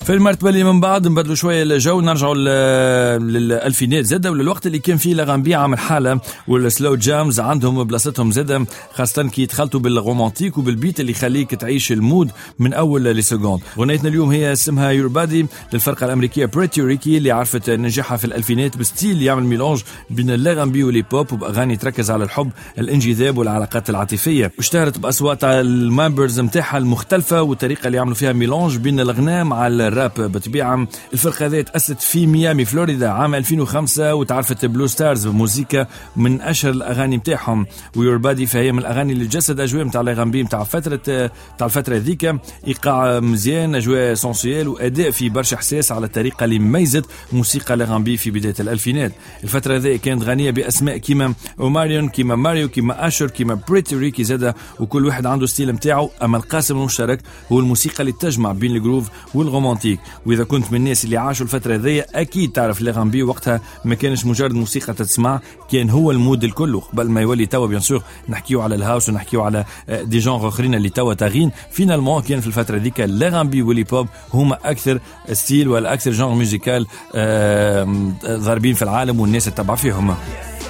في المرتبة اللي من بعد نبدلوا شوية الجو، نرجعوا للألفينات زادة وللوقت اللي كان فيه l'R&B عامل حالة وال slow jams عندهم بلاصتهم زادة، خاصة كي يتخلطوا بال romantique وبال beat اللي يخليك تعيش ال mood من أول les secondes. غنيتنا اليوم هي اسمها Your Body للفرقة الأمريكية Pretty Ricky اللي عرفت نجاحها في الألفينات ب style يعمل mélange بين l'R&B وال hip-hop وبأغاني تركز على الحب، الانجذاب والعلاقات العاطفية. واشتهرت بأصوات ال members نتاعها المختلفة والطريقة اللي يعملوا فيها mélange بين الغناء مع الراب. بطبيعة الفرقة هذه تأسست في ميامي فلوريدا عام 2005 وتعرفت Blue Stars بموزيكا من أشهر الأغاني نتاعهم، و Your Body فهي من الأغاني اللي جسد أجواء نتاع l'R&B نتاع فترة نتاع الفترة هذيك، إيقاع مزيان، أجواء sensuelles وأداء في برشا إحساس على الطريقة اللي ميزت موسيقى l'R&B في بداية الألفينات. الفترة هذه كانت غنية بأسماء كيما Omarion، كيما ماريو، كيما Usher، كيما Pretty Ricky زادة، وكل واحد عنده style نتاعو، أما القاسم المشترك هو الموسيقى اللي تجمع بين ال groove وال romantique. واذا كنت من الناس اللي عاشوا الفترة هذيا اكيد تعرف l'R&B وقتها ما كانش مجرد موسيقى تسمع، كان هو ال mood الكل قبل ما يولي توا bien sûr نحكيو على ال house ونحكيو على des genres اخرين اللي توا طاغين. finalement كان في الفترة هذيك l'R&B وال hip-hop هما اكثر style ولا اكثر genre musical ضاربين في العالم والناس تتبع فيهم.